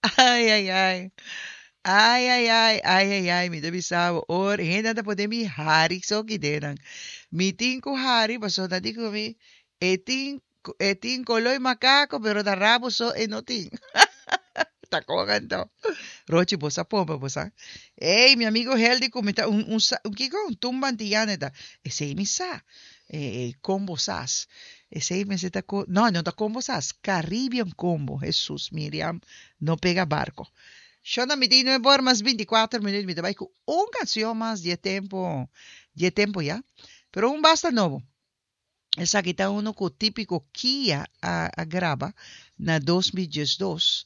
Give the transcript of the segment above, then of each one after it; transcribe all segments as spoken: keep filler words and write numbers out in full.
Ai, ai, ai. Ai, ai, ai, ai, ai, ai, mi ta bisa bo, ora hende ta pone mi hari so ki denan. Mi tin ku hari, pasobra nan di ku mi, e tin, e tin koloi makako, pero ta rabo so e no tin. Ta kon anto. Rochi, bo sa pompa, bo sa. Ey, mi amigo Heldi ku mi ta un, un, sa- un kiko, un tumba antiyano ta. Esey mi sa. Eh, eh, combo sas. Esey mester ta ko, no, no ta combo sas. Caribbean combo. Jesus, Miriam, no pega barco. Shona mi tin nuebe or mas bintikuater minuut, mi ta bai ku un canción mas di e tempo, di e tempo ya. Pero un basta nobo. Esaki ta uno ku Típico Kia a a graba na dos mil diesdos,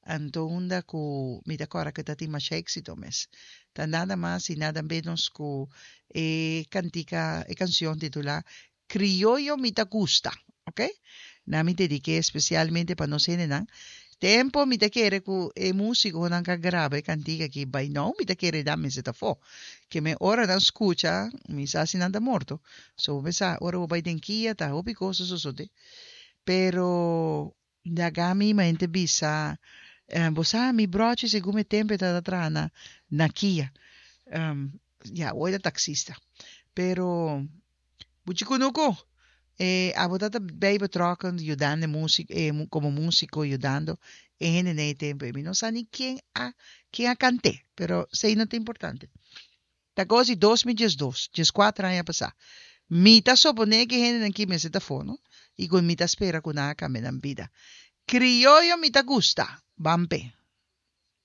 anto unda ku mi ta kòrda ku ta tin masha éksito mes. Ta nada mas i nada ménos ku e kantika, e kanshon titulá Krioyo mi ta gusta, oke. Nan mi dedik'é spesialmente pa nos hendenan. Tempo mi ta kere ku e musikonan ka graba e kantika aki bai nou mi ta kere dan mester ta afó. Ke men ora nan skucha mi sa si nan ta morto. So bo sa ora bo bai den kia ta hopi kos ta sosode. Pero laga mi mente bisa bo sa mi brochi segun e tempo e tabata traha na na kia. Ya awor e ta taksista. Pero Buchi Kunuku, e abo ta ta bij betrokken yudando e music e como musico yudando e hende den e tempo ei. Mi no sa ni ken a ken a cant'é, pero esei no ta importante. Ta cos di dos mil diesdos, dieskuater aña pasá. Mi ta soponé ku e hendenan aki mester ta afó, no? I ku mi ta spera ku nan a kambia nan bida. Krioyo mi ta gusta. Ban p'e.